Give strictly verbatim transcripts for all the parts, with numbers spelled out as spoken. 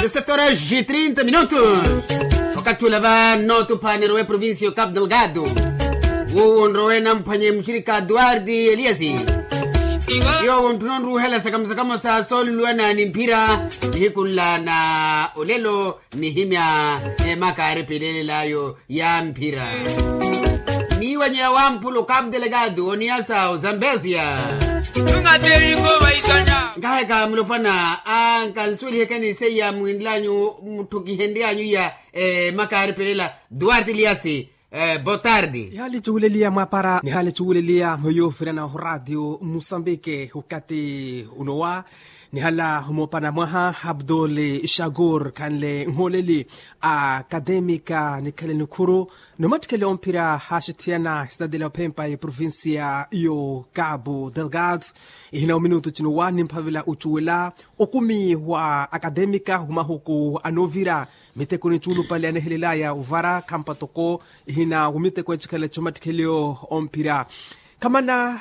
Sete horas e trinta minutos. Wakati ula va notuphaneru we provincia yo capo delgado, wuwo nrowe namphwanye muxirika duarte eliasi. Yowo ntthu nonruhela sakamusakamo sa sooluluwana ni mphira, nihiku nla na olelo nihimya emaka aripelelelayo ya mphira. Niiwanyeya wamphula o capo delgado oniyasa o zambesia. Nkaaheka mulopwana a nkansuwelihekeni seiya mwinlanyu mutthukihenryanyu iya. Maka aripelela duarte liasi. Botardi. Nihaali cuwuleliya mwapara nihaali cuwuleliya mweyo firana ho ratio musambike hukati unowa. Nihala humopana mwaha abdul shagur khanle nholeli a akademika nikhele nikhuru nomattikhele omphira haxithiyana sitadile ophempa eprovincia yo cabo delgado. Ihina ominutu cinowa nimphavela ocuwela okumi wa akademika humahuku anovira miteko ni cuulupale anehelelaya ovara khampa toko ihina womiteko ecikhale comattikheliyo omphira. Khamana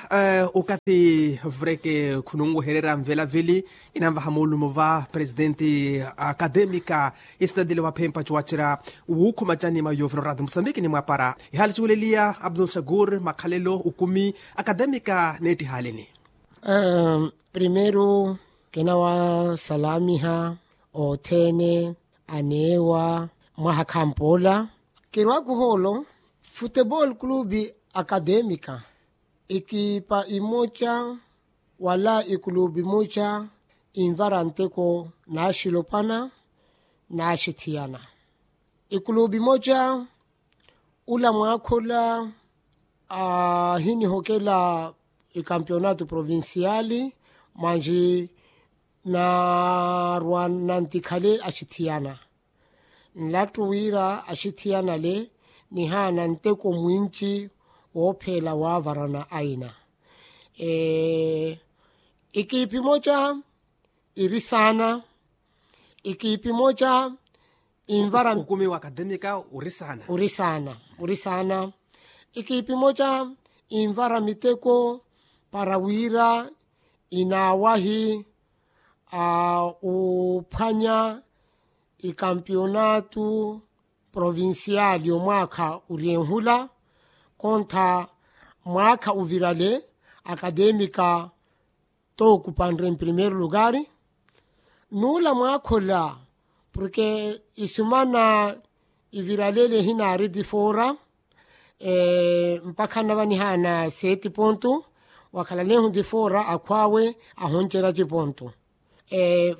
okati vreke khununwehererya nvelaveli inanvaha moolumo va presidenti akademika isitadile waphempa cuwacera wuukhuma canima yovira orati musambiki ni mwapara. Ihaali cuweleliya abdul shagur makhalelo ukumi akademika neetti halini. Primeiro kinawasalamiha othene aneewa mwaha khampoola. Kirwakuhoolo futebol clube akademika ekipa imoca wala ekulupe imoca invara nteko naaxilopana naaxithiyana. Ekulupe imoca ula mwaakhula ahinihokela ekampiyonato provinciali mwanji naarwa nantikhale axithiyana. Nlattu wira axithiyana ale nihaana nteko mwinci woopheela waavarana aina. Ekiipi moca iri saana. Ekiipi moca invara ukumi wa akademika uri saana. Uri saana uri saana. Ekiipi moca invara miteko para wira inaawahi uphwanya ikampiyonatu provinciali omwaakha uri enhula kontha mwaakha uvirale akademika tookupanre mprimeiro lugari. Nuula mwaakhola porke isumana iviralele hinaari tifora mpakha nava nihaana seti pontu wakhalalehu tifora akhwaawe ahoncerya cipontu.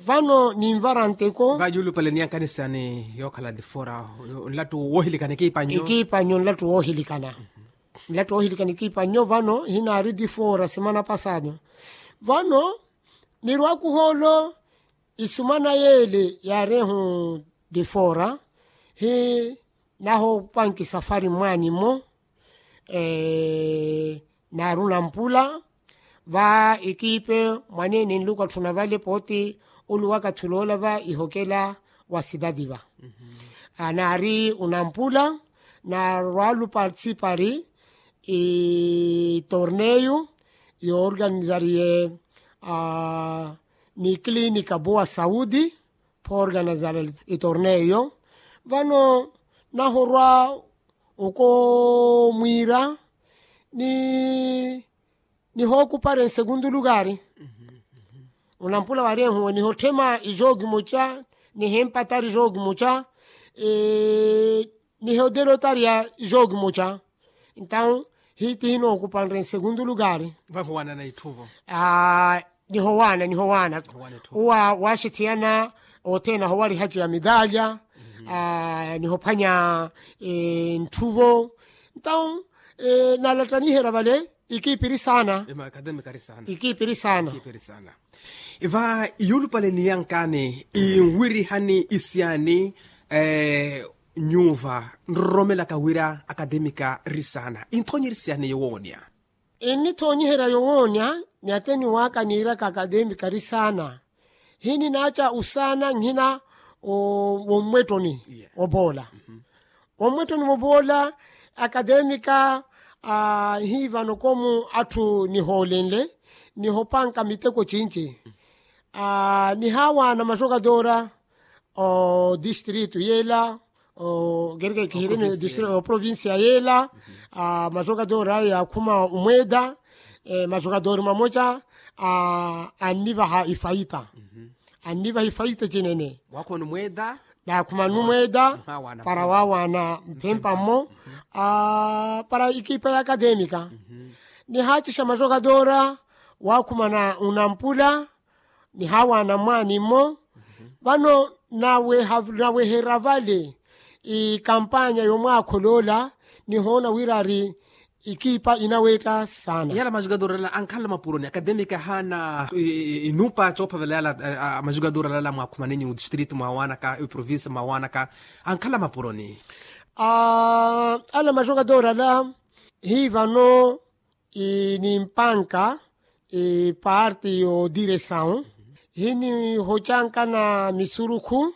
Vano ninvara nteko vayulupale niyankanisani yookhala tifora nlattu woohilikana ekiipa nnyo ekiipa nnyo nlattu woohilikana. Nlattu woohilikana ekiipa nnyo vano hinaari tifora semana pasado. Vano nirwakuhoolo isumana yeele yaarehu tifora hi nahopanki safari mwaani mmo. Naari onampula va ekiipe mwaneene nluku atthuna vale pooti oluwaka tthuloola va ihokela wa sitati va. Naari onampula naarwalu partisipari itorneyu yoorganizariye ni kilinika boa saudi. Phoorganizara itorneyo vano nahorwa okomwiira ni nihookupara ensegundu lugari. Onampula wari ehuwe nihotthema ijoki muca nihempatari ijoki muca nihodelotarya ijoki muca. Entawu hiti hinookupanre nsegundu lugari. Vamuwanana itthuvo nihowaana nihowaana. Uwa waaxithiyana othene ahowarihaci ya midalya nihophwanya ntthuvo. Entawu nalattaniherya vale ikiipi iri saana. Ikiipi iri saana. Iva iyulupale niyankani inwirihani isiyani nyuva nroromelaka wira akademika ri saana inthonyeri siyani yowoonya. Innithoonyiherya yowoonya ni ateni waka niiraka akademika ri saana. Hininaaca osaana nhina wommwettoni woboola. Wommwettoni woboola akademika hiivano komu atthu nihoolenle nihopanka miteko cinci. Nihaawaana majokatora o distrito yela, o kereke kihireni o provincia yela. Majogadori aya yakhuma umweda. Majogadori mamoca annivaha ifaita. Annivaha ifaita cinene. Nakhuma numweda para wawana mphempa mmo. Para ikipa ya akademika nihacixa majogadora wakhumana unampula. Nihawana mwaani mmo vano naweherya vale ikampanya yomwaakholoola. Nihoona wira ari ikipa inawetta saana. Yala majogadora ala ankhala mapuroni akademika ahaana inupa coophavela yala. Majogadora ala mwakhumanenyu distrito mwawanaka iprovinsi mwawanaka ankhala mapuroni. Ala majogadora ala hivano ni mpanka parte yo diresawu hinihocankana misurukhu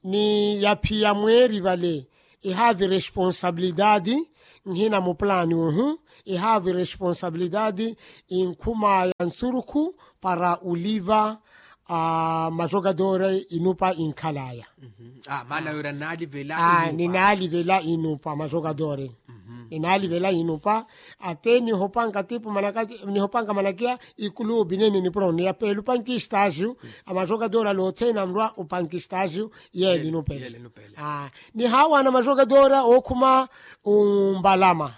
ni yaphiya mweeri vale. Ihavi responsabilidade nhina mupulani uhu ihavi responsabilidade inkhuma ya nsurukhu para uliva. Majogadore inupa inkhalaya. Maana yori anaalivela inupa. Ninaalivela inupa majogadore ninaalivela inupa. Ate nihopanka tipo manaka nihopanka manakiya ikulubi nene nipuro niyapeela upanka istasiu. Amajogadore ala othene anrwa upanka istasiu yeele inupele. Nihawana majogadore okhuma umbalama.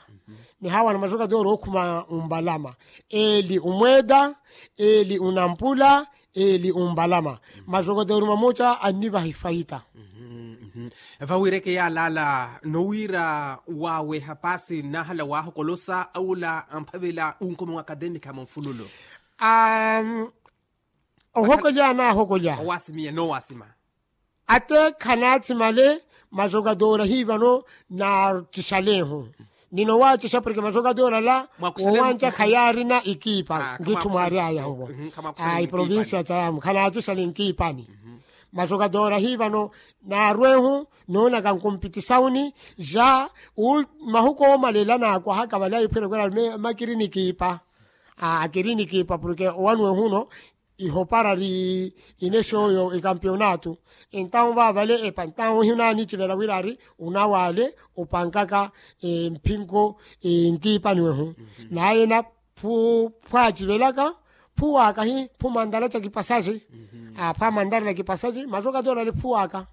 Nihawana majogadore okhuma umbalama. Eli umweda eli unampula eli umbalama. Majogadori mamoca annivaha ifaita. Vawireke yalala nowira waweha pasi nahala wahokolosa aula amphavela unkoma wa akademika munfululo. Ohokolya nahokolya owasimiya nowasima. Ate khanatsimale majogadora hivano naatixalehu. Nino waacixa porke majogadora ala wowanja khayaarina ikipa nkitthu mwaari aya huvo. Iprovincia cayamu khanatixale nkipani. Majogadora hivano naarwehu noonaka nkumpitisauni ja mahuko omalela naakwahaka vale aiphwere kwera makiri nikipa. Akiri nikipa porke owanwehuno ihopara ri inexoyo ikampionatu. Entawu vaavale epa entawu hiunanicivela wira ari unawale upankaka mphinko nkiipani wehu. Naye na phu phu acivelaka phu waka hi phu mantara ca kipasaci. Phu amantara na kipasaci majogadori ali phu waka.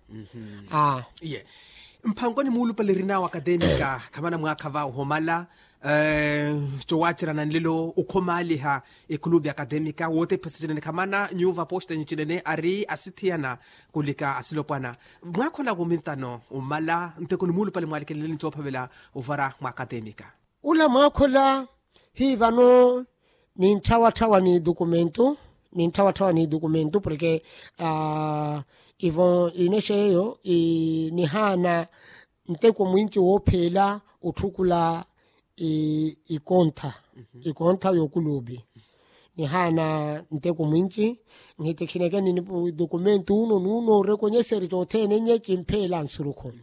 Iye mphankoni muulupale erinawo akademika khamana mwaakha va ohomala. Cowacerana nlelo okhomaaliha ekulubi akademika wootepha sicinene khamana nyuva posta nyicinene ari asithiyana kulika asilopwana. Mwaakhola kumintano omala nteko nimuulupale mwaalikeleleni coophavela ovara mwa akademika. Ula mwaakhola hi vano nintthawaththawa ni dokumentu nintthawaththawa ni dokumentu porke ivo inexa eyo nihaana nteko mwinci woopheela otthukula ikontha ikontha y'okuluupi. Nihaana nteko mwinci nhitikhineke ni dokumentu uno nuno orekonyeseri cothene nye cimpheela nsurukhu.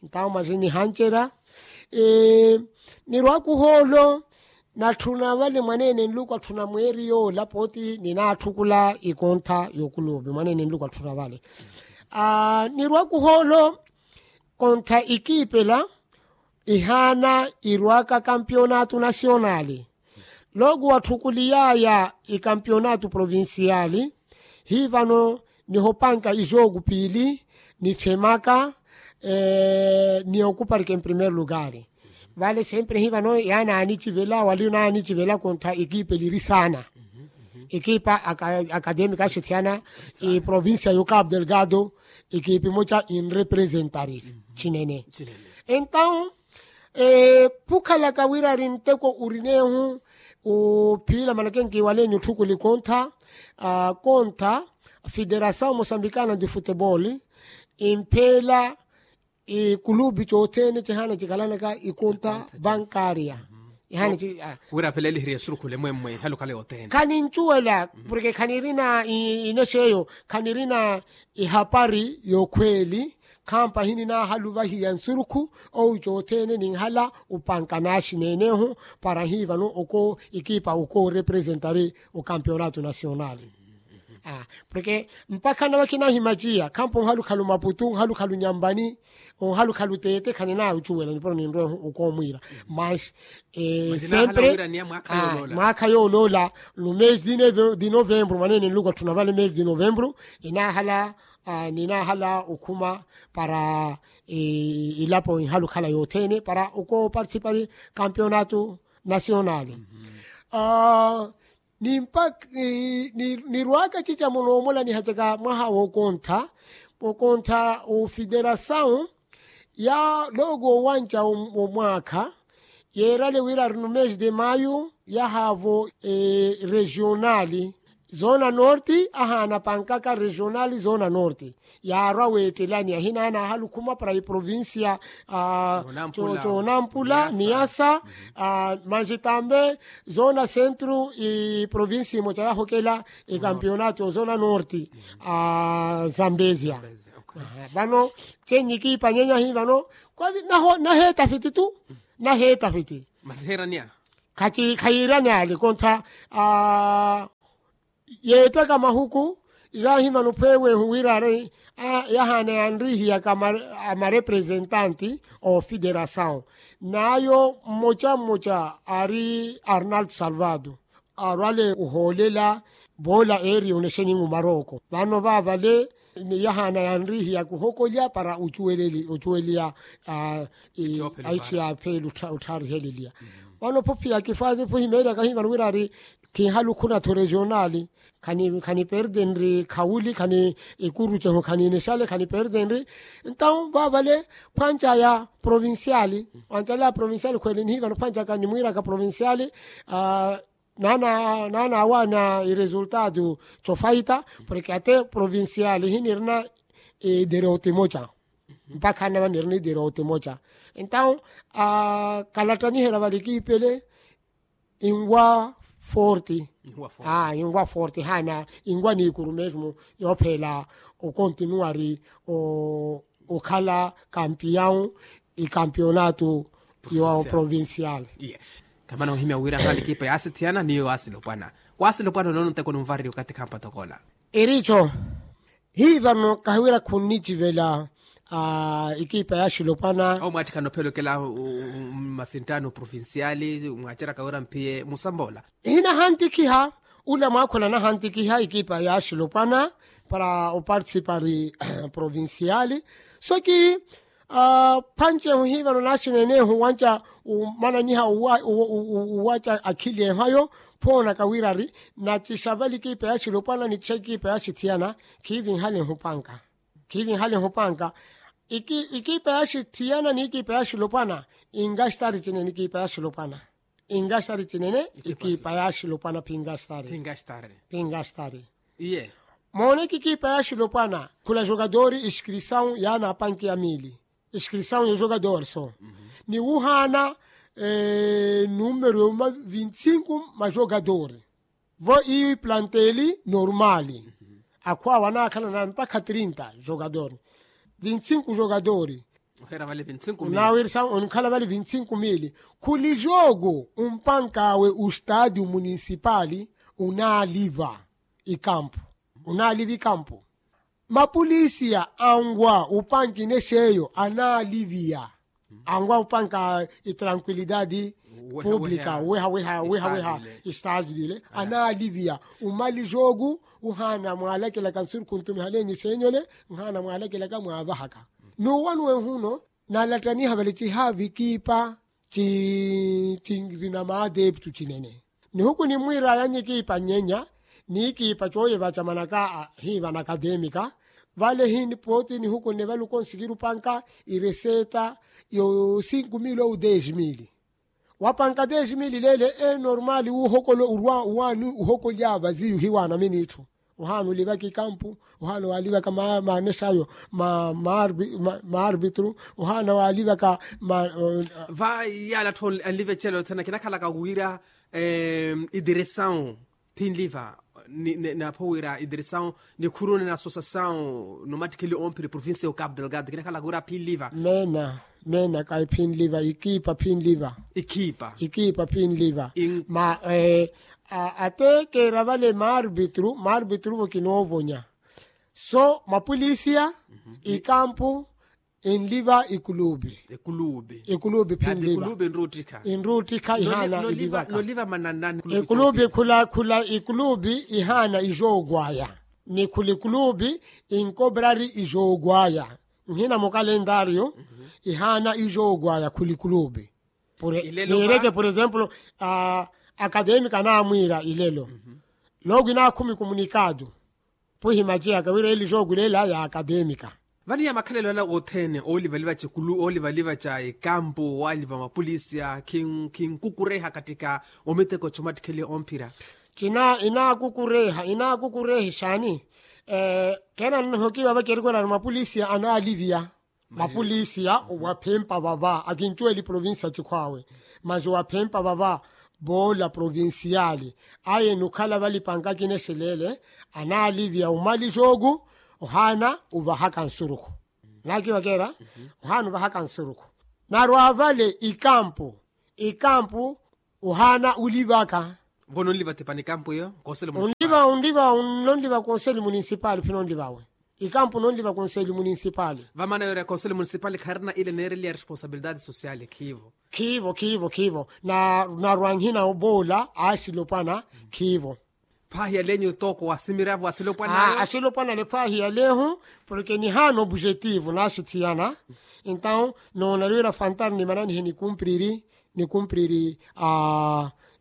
Ntawo masi nihancerya nirwaka ohoolo natthuna vale mwaneene nluku atthuna mweeri yoola pooti ninaatthukhula ikontha y'okuluupi mwaneene nluku atthuna vale. Nirwaka ohoolo kontha ikiipela ihaana irwaka kampionatu nasiyonali. Looku watthukuliyaya ikampionatu provinsiyali hi vano nihopanka ijooku piili nitthemaka ni okuparika emprimeiro lugari. Vale sempre hi vano yaani aanicivela wali onanicivela kontha ekipa eliri saana. Ekipa akademika axithiyana eprovincia yo cabo delgado ekipa emoca enrepresentari cinene. Entawu phukhalaka wira ari nteko urinehu uphiila manake nkiwaleni otthukuli kontha kontha federasawu mosambikana de futebol impheela ikulupi cothene cihaana cikhalanaka ikonta bankaria. Ihaana ci wira aveleliherya esurukhule mwemwe ihalokhala yothene khanincuwela porke khanirina inexa eyo khanirina ihapari yokhweeli. Khampa hininaahaluvahiya nsurukhu owi cothene ninhala upanka naaxineenehu para hi vano oko ikipa okoorepresentari okampionato nasional. Porke mpakha nava khinahimaciya khampa onhalukhalu maputu onhalukhalu nyampani onhalukhalu tete khaninaya ocuwela nipuro ninrwe okoomwiira. Mas sempre mwaakha yooloola no mesi di novembro mwaneene nluku atthuna vale mesi di novembro. Enahala ninahala okhuma para ilapo inhala okhala yothene para okooparticipari kampeonato nasionali. Nimpa nirwaka cica munoomolaniha caka mwaha wookontha wookontha ofiderasawu ya looko owanca womwaakha yeerale wira ari no mesi de mayu yahaavo regionali zona norte ahaana pankaka regionali zona norte yaarwa weettelani ahinaana ahalukhuma para iprovincia conampula niyasa manjitambe zona centro iprovincia imoca yahokela ikampeonato zona norte zambezia. Vano chenyi kiipanyenya hi vano naheetafiti tu naheetafiti khayiirani ale kontha yeettaka mahuku jaahimana ophweewehu wira ari yahaana yanrihiyaka amarepresentante ofiderasawu n'ayo mmoca mmoca ari arnaldo salvado arwale ohoolela boola eeri onexeningu marooko vano vaavale yahaana yanrihiyaka ohokolya para ocuweleya aici ya pheeli otthariheleliya. Vano phophiya kifwazi phuhimeeryaka hivano wira ari khinhalukhuna-tho regionali khaniperdenri khawuli khani ikurucehu khaninexale khaniperdenri. Entawu vaavale phwancaya provinciali wancalaya provinciali khwele nihivano phwancaka nimwiiraka provinciali naana awaana iresultado cofaita porke ate provinciali hinirina iderote moca mpakha nava nirina iderote moca. Entawu kalattaniherya vale ekiipele inwa forte inwa forte haana inwa niikuru mesmo yoopheela okontinuwari okhala kampiyawu ikampiyonato yo provincial. Kamana ohimya wira hali ekipa yaasithiyana niyo waasilopwana waasilopwana onoono nteko nunvarerya okathi khampa tokola. Iricho hivano kahiwira khunnicivela ekipa ya axilopwana. Omwaattikhana ophela okela mmasinttaano provinciali mwaceraka wira mphiye musamboola. Hinahantikhiha ula mwaakhula nahantikhiha ekipa ya axilopwana para oparticipari provinciali. Soki phancehu hivano naxineenehu wanca omananiha owaca akhili ehayo phoonaka wirari nacixa vale ekipa ya axilopwana nicixa ekipa ya axithiyana. Khiivinhalehu panka khiivinhalehu panka ekipa ya axithiyana ni ekipa ya axilopwana. Ingastari cinene ekipa ya axilopwana ingastari cinene ekipa ya axilopwana phingastari. Phingastari mooneke ekipa ya axilopwana khula jogadori iskrisawu yaana apanki ya mili iskrisawu ya jogadori so ni wuhaana numero yuma vinti sinku ma jogadori vo iyo iplanteli normali. Akhu awo anaakhala na mpakha trinta jogadori vinti sinku jogadori. Onaawirisa onikhala vale vinti sinku mili khuli jogo umpankawe ustadio munisipali unaaliva ikampu unaaliva ikampu. Mapulisiya anwa upanki nexeyo anaaliviya anwa upanka itrankuilidadi publika weha weha weha weha istaju dile anaaliviya umali jogu uhaana mwaalakilaka nsuru khuntumihalenyi senyole nhaana mwaalakilaka mwaavahaka. Nuwanuwe huno nalattaniha vale cihaavi ekipa cinrina maadeptu cinene. Nihuku nimwiiraya nyikiipa nyenya niikiipa cooye vacamanaka hiiva na akatemika vale hini pooti nihuku nne vale okonsikiru panka ireseta yo sinku mili ou dez mili. Wapanka dez mili leele enormali wuuhokole urwa uwaani uhokolya vaziyu hiwaana minitthu. Ohaana olivaka ikampu ohaana waalivaka maanexayo maarbitru ohaana waalivaka. Va yaala atthu anliva ecelo yothene kinakhalaka wira idiresawu phinliva. Napho wira idiresawu nikhuruni na asosasawu nomattikheli omphiri provincia ya ocapo delgado kinakhalaka wira phinliva. Meena meena kayi phinliva ikiipa phinliva. Ikiipa ikiipa phinliva ma Ate keera vale maarbitru maarbitru vo kinoovonya. So mapulisiya ikampu enliva ikuluupi. Ikuluupi phinliva. Enruuttikha ihaana ilivaka. Ikuluupi khula khula ikuluupi ihaana ijoogwaya. Ni khula ikuluupi inkoprari ijoogwaya. Nhina mukalendaariyo ihaana ijoogwaya khula ikuluupi. Niireke por exemplo, akademika naamwiira ilelo. Looku inaakhumi komunikaatu. Puhi maciyaka wira eli jooku leela ya akademika. Vani ya makhalelo ala othene oolivaliva ca ekulu oolivaliva ca ekampu owaaliva mapulisiya khinkukureha katika omiteko comattikheliha omphira. Cina inaakukureha inaakukureha ixaani. Keena nnohokiwa vacerikwerani mapulisiya anaaliviya. Mapulisiya waphempa vava akincuweli provincia cikhwaawe. Masi waphempa vava voola provinciali aye nukhala valipanka kinexeleele. Anaaliviya umali jooku ohaana uvahaka nsurukhu. Naakivakeera ohaana uvahaka nsurukhu. Narwa vale ikampu ikampu ohaana ulivaka. Vo nonliva tipani ikampu iyo? Konseli munisipali. Unliva unliva nonliva konseli munisipali phi nonliva we? Ikampu nonliva konseli munisipali. Vamaana yoori ya konseli munisipali kharina ile neereliya responsabilidade sosiyali khiivo. Khiivo khiivo khiivo. Narwa nhina voola axilopwana. Khiivo. Phaahiyalenyu tooko wasimiravo asilopwana ayo. Asilopwana ale phaahiyalenhu. Porke nihaana obujetivu naaxithiyana. Entaw noona liwira fantar nimananihe nikumpriri nikumpriri.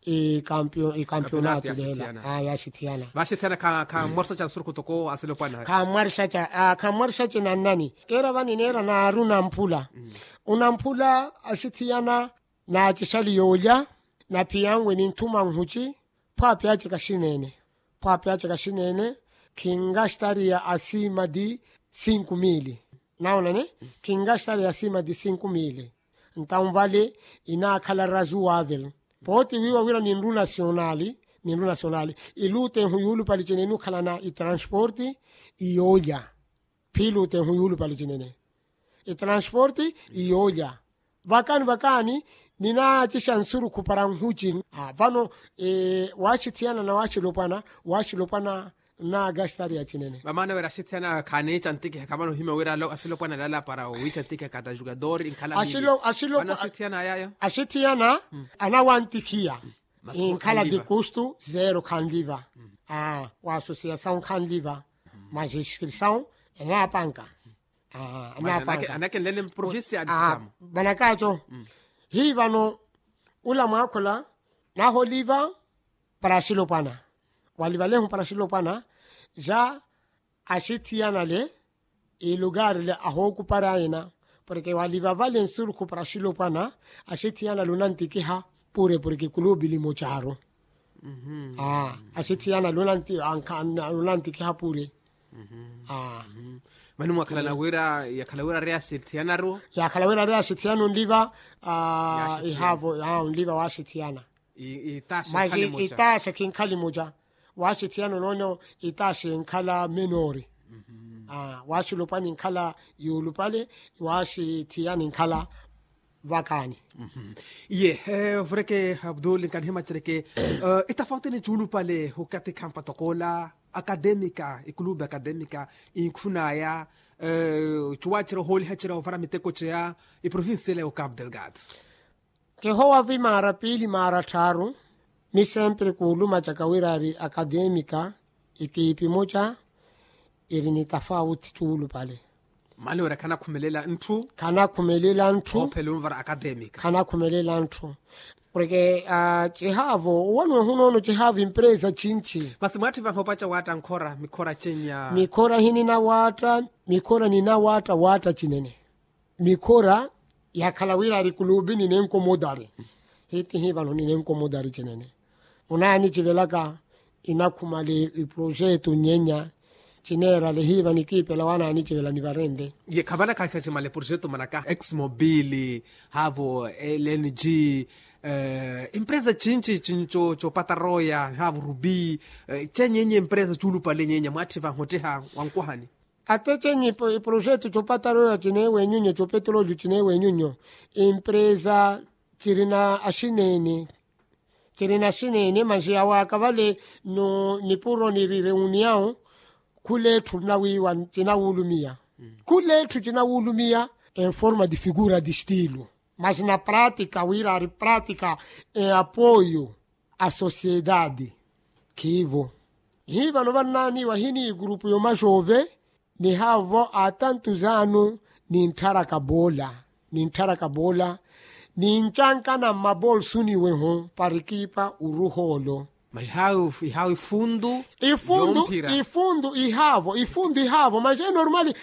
Ikampionato leela yaaxithiyana. Vaaxithiyana khammwarixa ca nsurukhu toko asilopwana ayo. Khammwarixa ca khammwarixa ca nannani keera vani neera naaru namphula. Unamphula axithiyana. Naacixali yoolya naphiyanwe ninthuma nhuci. Phwaapi ace kaxineene. Phwaapi ace kaxineene. Khingaxtariya asima ti sinku miili. Naonani khingaxtariya asima ti sinku miili. Ntawu vale inaakhala razu wavel. Pooti wiiwa wira ninru nasionali ninru nasionali iluutehu yuulupali cene inukhalana itransporti iyoolya. Phiiluutehu yuulupali cinene itransporti iyoolya. Vakani vakani ninaacixa nsurukhu para nhuci. Vano waaxithiyana na waaxilopwana waaxilopwana. Nnaagaxitariya cinene. Vamaana wira axithiyana khaaniica ntikiha khamana ohimya wira asilopwana lala para wiica ntikiha kata jugador inkhala miili. Axithiyana anawantikhiya. Inkhala ti kustu zero khanliva. Waasosiyasawu khanliva. Majiskrisawu enaapanka. Anapanka. Anakenlele mprovincia a distamo. Vanakaco hii vano ula mwaakhula naholiva para axilopwana. Walivalehu para axilopwana ja axithiyanale ilugarile ahookupari ayina. Porke waliva vale nsurukhu para axilopwana axithiyanale onantikiha pure porke kuluupi limocaru. Axithiyana lunantikiha pure. Mani mwakhalana wira yakhala wira ari axithiyanaru. Yakhala wira ari axithiyana onliva ihaavo onliva waaxithiyana. Masi itaaxa khinkhali muca. Waaxithiyana onono itaaxa enkhala menori. Waaxilopwani nkhala yuulupale. Waaxithiyana enkhala vakaani. Iye vureke abdul nkanihimacereke itafauti ni cuulupale okathi khampa tokoola akademika ikuluupi akademika inkhunaya cuwacera ohoolihacerya ovara miteko ceya iprovincia ila ya okapu delgado. Kihowa vi maara piili maara tthaaru. Mi sempre kuulumacaka wira ari akademika ikiipi muca iri ni tafauti cuulupale. Mali wira khanakhumelela ntthu. Khanakhumelela ntthu. Oophela onvara akademika khanakhumelela ntthu. Porke cihaavo owanuwe hunoono cihaavo empresa cinci. Masi mwaatthi vaha opaca waatta nkhora mikhora cenya. Mikhora hininawaatta. Mikhora ninawaatta waatta cinene. Mikhora yakhala wira ari kuluupi ninenkomodari. Hiitihi vano ninenkomodari cinene. Onaanicivelaka inakhumale iprojeto nyenya. Cineerale hiiva nikiipela wanaanicivelani varenle. Ye khavana kaakha cimale projeto manaka exmobile haavo lng. Empresa cinci cinco copataroya haavo rubi. Cenyenye empresa cuulupale nyenya mwaatthi vahotteha wankwahani. Ate cenyi iprojeto copataroya cineewenyunyo copetrolio cineewenyunyo. Empresa cirina axineene. Ciri na xinene manji awaaka vale. Nipuro niri reuniyawu. Khula etthu cinawulumiya. Khula etthu cinawulumiya en forma di figura di stilu. Mas na pratika wira ari pratika e apoyo a sosiedadi. Khivo. Hivano vannaaniwa hini grupu yo majove. Ni havo a tantu zanu ni ntharaka bola ni ntharaka bola ni ncankana mmabolsuni wehu parikipa uruholo. Mas hawi hawi fundu ifundu ifundu ihavo ifundu ihavo mas e normali.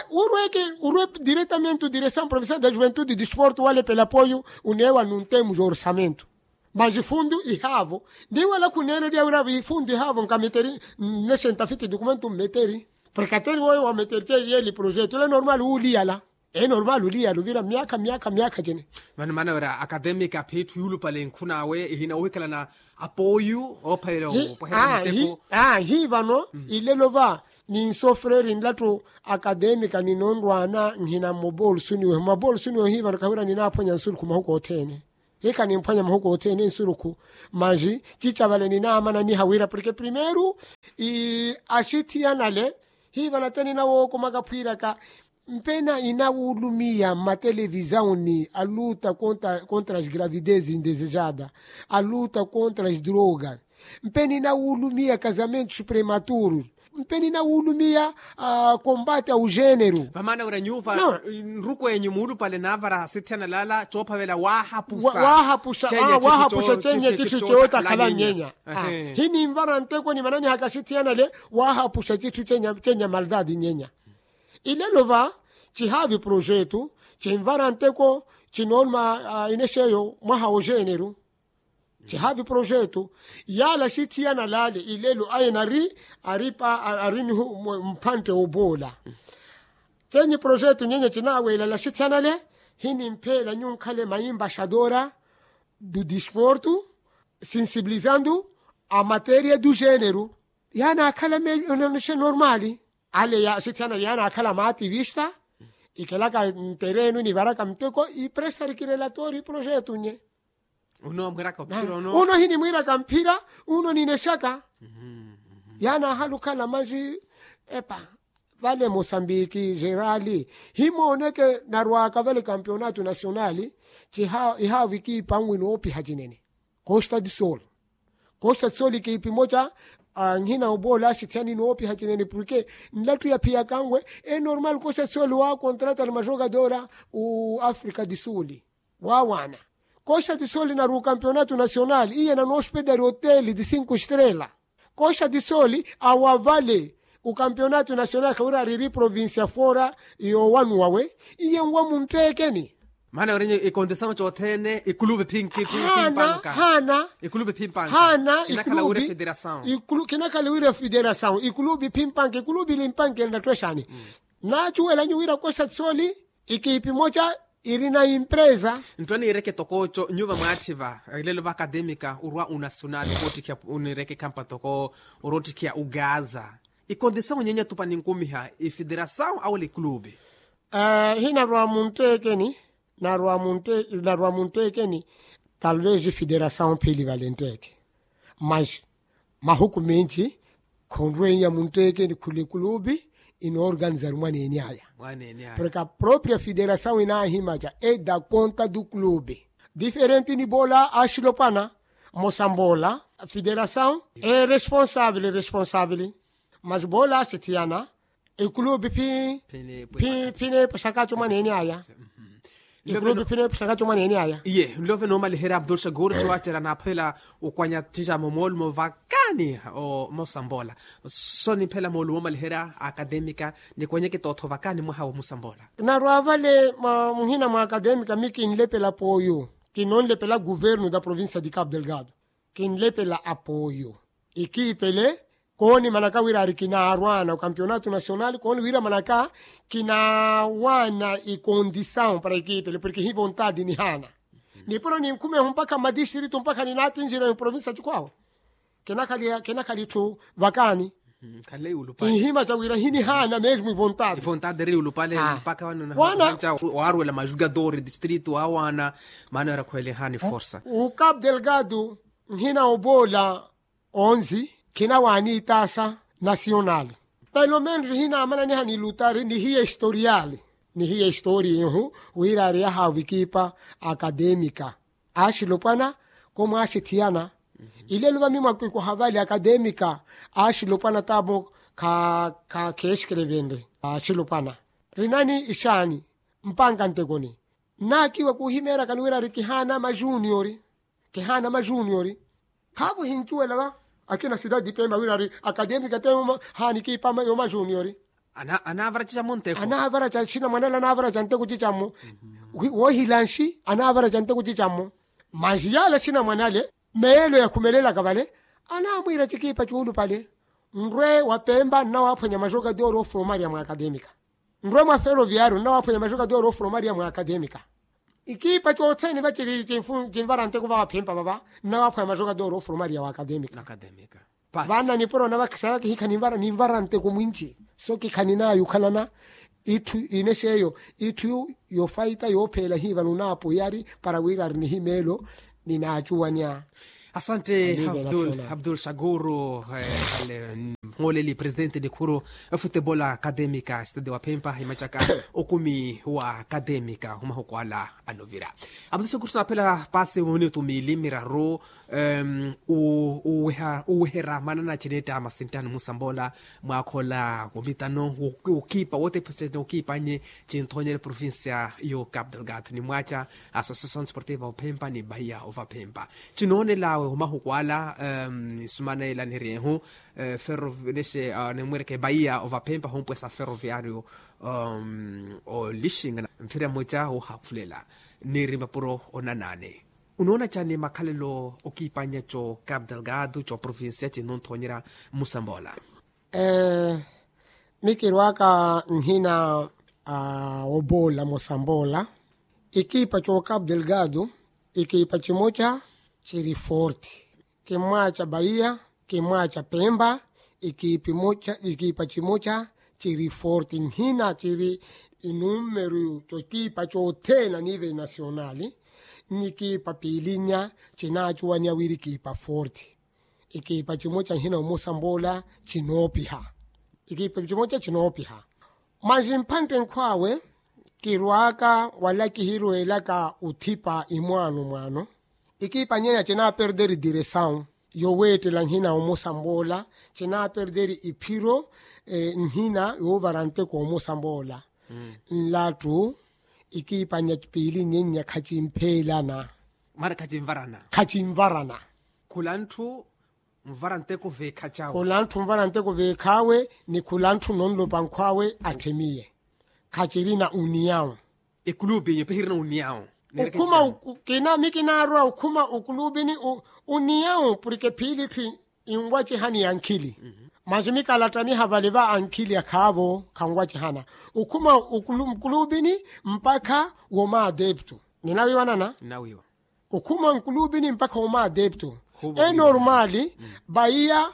Urweke urwe diretamente direção provincial da juventude disporto wale pela apoio unewa nuntemu jorsamento. Mas ifundu ihavo ndiwela khunelo diawira ifundu ihavo nkameteri. Nexenta fiti dukumentu mmeteri. Prekateri woyo wameteri ceyeli projeto le normali uliyala. E normali uliyala uvira myakha myakha myakha cene. Vano maana wira akademika phitthu yuulupale nkhunawe ihina ohikalana apoyu oophalela opwahela miteko. Hi vano ilelo va ninsofreri nlattu akademika ninonrwana nhina mmobolsuni wehu mmobolsuni wehu hi vano kahwira ninaaphwanya nsurukhu mahuku othene. Hikha nimphwanya mahuku othene nsurukhu. Manji cicavale ninaamana niha wira porke primeru axithiyanale hi vano ate ninawookomaka phwiraka. Mpena inawulumiya mmatelevisauni aluta contra as gravidez indesejada aluta contra as drogas. Mpena inawulumiya casamentos prematurus. Mpena inawulumiya combate au género. Vamaana wira nyuva nrukwenyu muulupale naavara asithiyana lala coophavela waahapusa. Waahapusa cenya cithu cootakhala nyenya. Hininvara nteko nimananihaka asithiyana le waahapusa cithu cenya maldadi nyenya. Ilelo va cihaavi projetu cinvara nteko cinoonuma inexeyo mwaha wo género. Cihaavi projetu yaala axithiyana laale ilelo aye nari ari ari nihu mphantte woboola. Cenyi projetu nyenya cinaaweela laxithiyana le hinimpheela nyunkhale maimbaxadora du disportu sinsibilizandu a materia du género. Yaanaakhala mexe normali ale ya axithiyana yaanaakhala maativista. Ikelaka nterenu nivaraka mteko ipresa rikirelatori projetu nye. Uno hinimwiraka mphira uno ninexaka. Yaanaahala okhala manji epa vale mosambiki gerali himooneke narwaka vale campeonato nacionali. Ihaavi kiipa nwino oopiha cinene. Costa de sol. Costa de sol kiipi moca nhina oboola axithiyani noopiha cinene porke nlattu yaphiyakanwe. Enormal costa de sol waakontratari majogadora o africa de sol. Waawaana costa de sol nari o campeonato nacional iye nanoospedari hotel de cinco estrela. Costa de sol awa vale o campeonato nacional khawira ariri provincia fora yoowanuwa we iye nwa muntteekeni. Maana wira nyi ikondisawu cothene ikulubi phinki phinpanka. Haana ikulubi phinpanka. Haana ikulubi phinpanka ikulubi phinpanka ikulubi ili mpanka ili natthu exaani. Naacuwela nyu wira costa de sol ikiipi moca irina impresa. Ntthu aniireke tokooco nyuva mwaatthiva ilelo va akademika orwa unacional oottikhiya oniireke ekhampa toko oroottikhiya ugaza. Ikondisawu nyenya tupa ninkumiha ifederasawu awela ikulubi. Hinarwa muntteekeni narwa muntteekeni. Talvez ifederasawu phili vale ntteeke mas mahuku menci khonrwenya muntteekeni khula ekulubi inoorganizari mwaneeni aya. Porke a propria federasawu inaahimaca eda conta du clube diferente niboola axilopwana. Mosamboola federasawu e responsavili responsavili mas boola axithiyana ekulubi phi phi phi neepo exakaco mwaneeni aya. Ekulubi phi neepo exakaco mwaneeni aya. Iye nlove noomaliherya abdul shakur cowacerya naaphela okwanya tixamo moolumo vakaani. Mosamboola so nimphela moolumo oomaliherya akademika nikwenyeke tootho vakaani mwaha wa mosamboola. Narwa vale muhina mwa akademika mi kinlepela pooyo kinonlepela guvernu da provincia di cabo delgado. Kinlepela apoyo ikiipele koonimanaka wira ari kinaarwana okampeonato nacional kooni wira manaka kinaawana ikondisawu para ikiipele porke hi vontadi nihaana. Nipuro ninkhumehu mpakha mmadistritu mpakha ninaatinjira oprovinsa cikwaawo. Kinakhali etthu vakaani. Inhima ca wira hinihaana mesmo ivontadi. Ivontadi eri ulupale mpakha wana waaruwela majugadori distritu waawaana. Maana eri akhwelenhaani forsa. Ukapu delgado Nhina oboola onzi khinawaani itaasa nasiyonali. Pelomentu hinamananiha ni lutari ni hiya historiyali ni hiya historiya ehu wira ari yahaavu ekipa akademika. Axilopwana komwaaxithiyana. Ilelo vamimwakwiku havali akademika axilopwana tamo kha kheexikelevenle. Axilopwana rinani ixaani mpanka ntekoni. Nnaakiwa kuhimeerakani wira ari kihaana majuniyori. Kihaana majuniyori. Khaavo hincuwela va akina sitadi pemba wira ari akademika te haani kipa yo majuniyori. Anaavaraca camu nteko anaavaraca sina mwanala anaavaraca nteko cicammo. Woohilanxi anaavaraca nteko cicammo. Manxi yala sina mwanale meelo yakhumelelaka vale anaamwiira cikipa cuulupale. Nrwe wa pemba nnawaaphwanya majogadori ofuromariya mwa akademika. Nrwe mwa feroviario nnawaaphwanya majogadori ofuromariya mwa akademika. Ikipa cothene va ciri cinvara nteko va waphempa vava nnawaaphwanya majogadori ofuromariya wa akademika. Vana nipuro navakisaraki hikha ninvara nteko mwinci. So kikhaninaya yukhalana itthu inexeyo itthu yofaita yoopheela hiva nunaapoyari para wira ari nihimeelo. Ninaacuwanya. Asante abdul shakuru. Mhooleli presidenti nikhuru efutebola akademika stade wa phempa imacaka okumi wa akademika ohumahuku ala anovira. Abdul shakuru saaphela paasi minutu miili miraru. Uweherya maana na cineetta masinttani musamboola mwaakhola womitano wokiipa wotephusene wokiipa nye cinthonyere provincia yo cap delgado ni mwaaca associacion sportiva ophempa ni bahia ovaphempa. Cinoonelawe omahuku ala isumanela niryehu ferroviario nimwereke bahia ovaphempa hompwesa ferroviario olixinga mphira mmoja wohakhulela. Niri mapuro onanane unoona cani makhalelo okiipannya co cap delgado co provincia cinonthonyerya musamboola. Mikirwaka nhina woboola musamboola. Ikiipa co cap delgado ikiipa cimoca ciri forti. Kimwaaca bahia kimwaaca pemba. Ikiipa cimoca ciri forti nhina ciri inumeru cokiipa cothene a nivel nasionali. N'ikiipa piilinnya cinaacuwaniya wira ikiipa forti. Ikiipa cimoca nhina omusamboola cinoopiha. Ikiipa cimoca cinoopiha. Manji mphantte nkhw'awe kirwaaka wala kihirweelaka othipa imwaano mwaano. Ikiipa nyenya cinaaperderi diresawu yoweettela nhina omusamboola cinaaperderi iphiro. Nhina yoovara nteko omusamboola nlattu. Ikiipa nya piili nyenya khacimpheelana. Mara khacinvarana. Khacinvarana. Khula ntthu nvara nteko veekhacawe. Khula ntthu nvara nteko veekhaawe ni khula ntthu nonlopa nkhw'awe atthemiye. Khacirina uniyawu. Ekulubi nyo pehirina uniyawu. Okhuma kina mi kinaarwa okhuma okulubini. Uniyawu porke phiili tthi inwacihani ya nkhili. Manji mi kalattaniha vale va ankhili akhaavo khanwacihana. Okhuma okulubini mpakha womaadeptu. Ninawiiwanana. Okhuma nkulubini mpakha womaadeptu. Enormali. Bahiya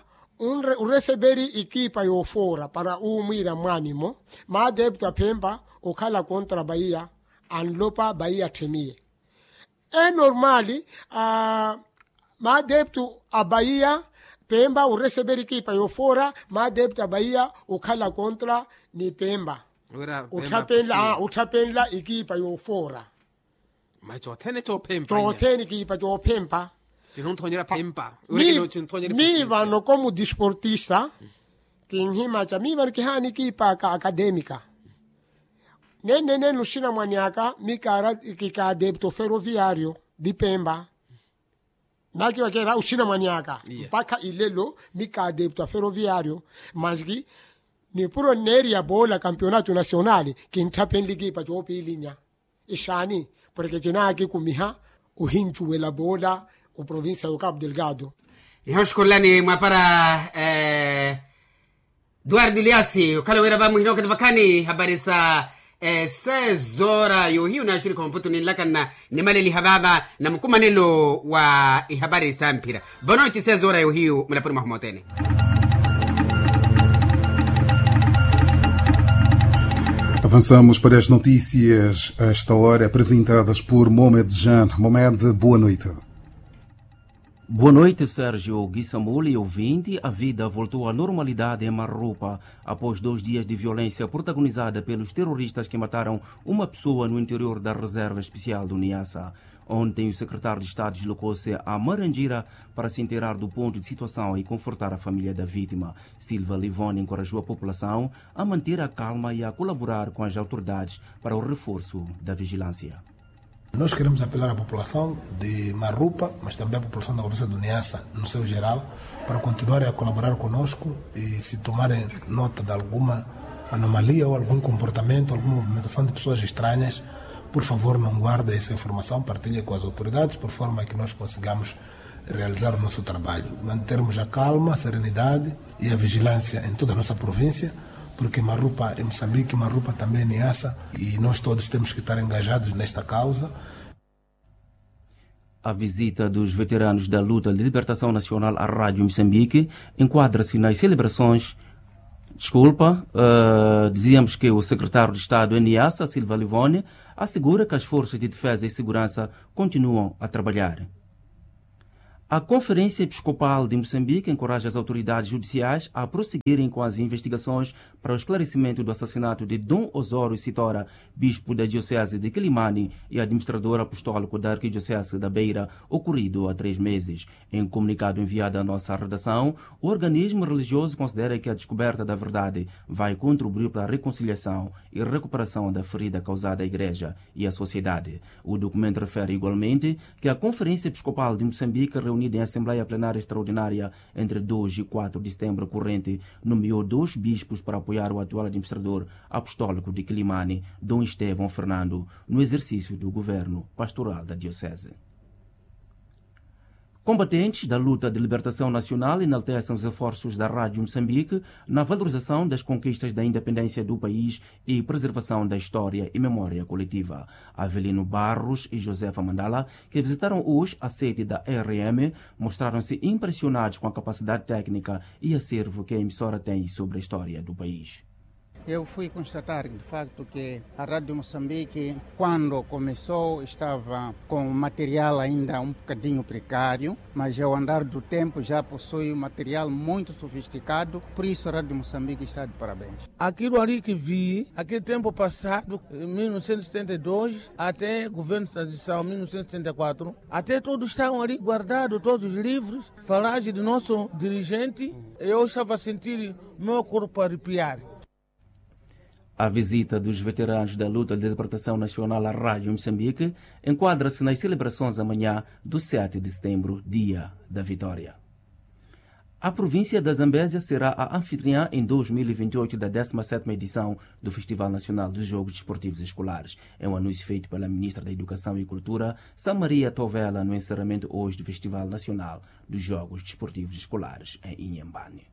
oreseperi ikiipa yoofoora para uumwiira mwaanimo. Maadeptu aphempa okhala kontra bahiya anlopa bahiya atthemiye. Enormali. Maadeptu a bahiya pempa oreseperi ekipa yoofoora. Maadeptu a bahiya okhala kontra ni pempa. Otthapenla ekipa yoofoora. Mayi cothene cophempa. Cothene ekipa coophempa. Cinonthonyerya phempa. Miivano komu disportista. Kinhimaca miivano kihaana ekipa aka akademika. Nennenenu oxinamwani aka mi kaadepto feroviario di pempa. Naakivakeera oxinamwani aka mpakha ilelo mi kaadepto a feroviario. Manji nipuro nneeriya boola kampionato nasionali. Kintthapenle ekipa coopiilinya. Ixaani porke cinaakikumiha ohincuwela boola oprovincia y'ocapo delgado. Nihoxukhulelani mwapara. Duardo liasi okhala wira va muhina okati vakhani habari sa sezora yohiyu naaxurikha omputu ninlakanna nimaleliha vava na mukumanelo wa ihabari sa mphira. Boa noite sezora yohiyu mulaponi mwahu mothene. Avançamos para as notícias a esta hora apresentadas por mohamed jean. Mohamed, boa noite. Boa noite, Sérgio Guissamuli, ouvinte. A vida voltou à normalidade em Marrupa após dois dias de violência protagonizada pelos terroristas que mataram uma pessoa no interior da Reserva Especial do Niassa. Ontem, o secretário de Estado deslocou-se a Marangira para se inteirar do ponto de situação e confortar a família da vítima. Silva Livoni encorajou a população a manter a calma e a colaborar com as autoridades para o reforço da vigilância. Nós queremos apelar à população de Marrupa, mas também à população da província do Niassa, no seu geral, para continuarem a colaborar conosco e, se tomarem nota de alguma anomalia ou algum comportamento, alguma movimentação de pessoas estranhas, por favor, não guardem essa informação, partilhem com as autoridades, por forma que nós consigamos realizar o nosso trabalho, mantermos a calma, a serenidade e a vigilância em toda a nossa província, porque Marrupa é Moçambique, Marrupa também é Niassa, e nós todos temos que estar engajados nesta causa. A visita dos veteranos da luta de libertação nacional à Rádio Moçambique enquadra-se nas celebrações. Desculpa, eh, dizíamos que o secretário de Estado em Niassa, Silva Livoni, assegura que as forças de defesa e segurança continuam a trabalhar. A Conferência Episcopal de Moçambique encoraja as autoridades judiciais a prosseguirem com as investigações para o esclarecimento do assassinato de Dom Osório Sitora, bispo da Diocese de Quilimane e administrador apostólico da Arquidiocese da Beira, ocorrido há três meses. Em comunicado enviado à nossa redação, o organismo religioso considera que a descoberta da verdade vai contribuir para a reconciliação e recuperação da ferida causada à Igreja e à sociedade. O documento refere igualmente que a Conferência Episcopal de Moçambique, reunida em Assembleia Plenária Extraordinária entre dois e quatro de setembro corrente, nomeou dois bispos para apoiar o atual administrador apostólico de Quilimane, Dom Estevão Fernando, no exercício do governo pastoral da Diocese. Combatentes da luta de libertação nacional enaltecem os esforços da Rádio Moçambique na valorização das conquistas da independência do país e preservação da história e memória coletiva. Avelino Barros e Josefa Mandala, que visitaram hoje a sede da R M, mostraram-se impressionados com a capacidade técnica e acervo que a emissora tem sobre a história do país. Eu fui constatar, de facto, que a Rádio Moçambique, quando começou, estava com material ainda um bocadinho precário, mas ao andar do tempo já possui um material muito sofisticado, por isso a Rádio Moçambique está de parabéns. Aquilo ali que vi, aquele tempo passado, em mil novecentos e setenta e dois, até governo de transição, mil novecentos e setenta e quatro, até todos estavam ali guardados, todos os livros, falagem do nosso dirigente, eu estava a sentir meu corpo arrepiar. A visita dos veteranos da luta de libertação nacional à Rádio Moçambique enquadra-se nas celebrações amanhã do sete de setembro, Dia da Vitória. A província da Zambésia será a anfitriã em dois mil e vinte e oito da décima sétima edição do Festival Nacional dos Jogos Desportivos Escolares. É um anúncio feito pela Ministra da Educação e Cultura, Samaria Tovela, no encerramento hoje do Festival Nacional dos Jogos Desportivos Escolares em Inhambane.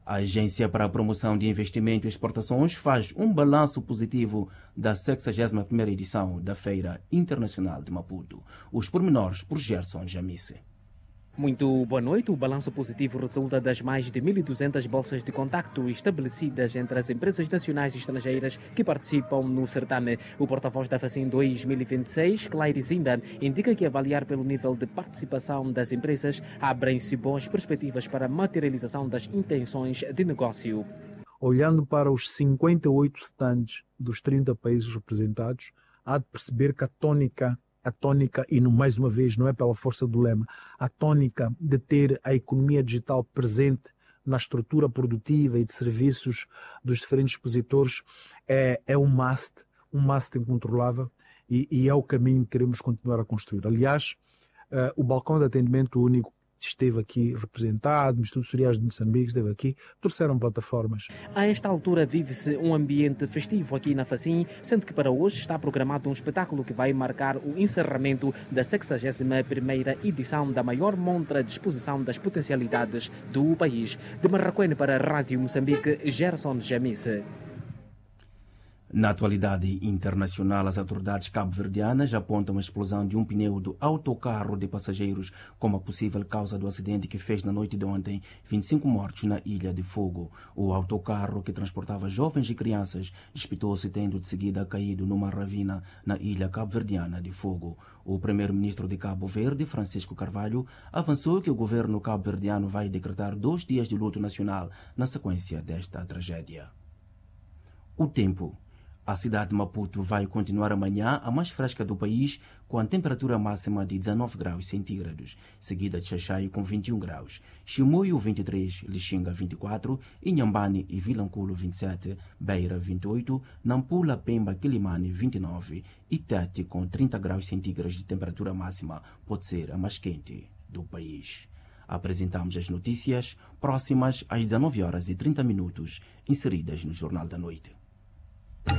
A Agência para a Promoção de Investimento e Exportações faz um balanço positivo da sexagésima primeira edição da Feira Internacional de Maputo. Os pormenores por Gerson Jamise. Muito boa noite. O balanço positivo resulta das mais de mil e duzentas bolsas de contacto estabelecidas entre as empresas nacionais e estrangeiras que participam no certame. O porta-voz da FACIM dois mil e vinte e seis, Claire Zinda, indica que, avaliar pelo nível de participação das empresas, abrem-se boas perspectivas para a materialização das intenções de negócio. Olhando para os cinquenta e oito stands dos trinta países representados, há de perceber que a tónica, a tónica, e no, mais uma vez, não é pela força do lema, a tónica de ter a economia digital presente na estrutura produtiva e de serviços dos diferentes expositores é, é um must, um must incontrolável e, e é o caminho que queremos continuar a construir. Aliás, eh, o balcão de atendimento único esteve aqui representado, o Instituto Soriano de Moçambique esteve aqui, trouxeram plataformas. A esta altura vive-se um ambiente festivo aqui na FACIM, sendo que para hoje está programado um espetáculo que vai marcar o encerramento da sexagésima primeira edição da maior montra de exposição das potencialidades do país. De Marraquene para a Rádio Moçambique, Gerson Jamise. Na atualidade internacional as autoridades cabo-verdianas apontam a explosão de um pneu do autocarro de passageiros como a possível causa do acidente que fez na noite de ontem, vinte e cinco mortos na ilha de Fogo. O autocarro que transportava jovens e crianças despetou-se tendo de seguida caído numa ravina na ilha cabo-verdiana de Fogo. O primeiro-ministro de Cabo Verde, Francisco Carvalho, avançou que o governo cabo-verdiano vai decretar dois dias de luto nacional na sequência desta tragédia. O tempo. A cidade de Maputo vai continuar amanhã a mais fresca do país, com a temperatura máxima de dezanove graus centígrados, seguida de Xaxai com vinte e um graus, Chimoio vinte e três, Lixinga vinte e quatro, Inhambane e Vilanculo vinte e sete, Beira vinte e oito, Nampula, Pemba, Quilimane vinte e nove e Tete com trinta graus centígrados de temperatura máxima pode ser a mais quente do país. Apresentamos as notícias próximas às dezanove horas e trinta minutos, inseridas no Jornal da Noite.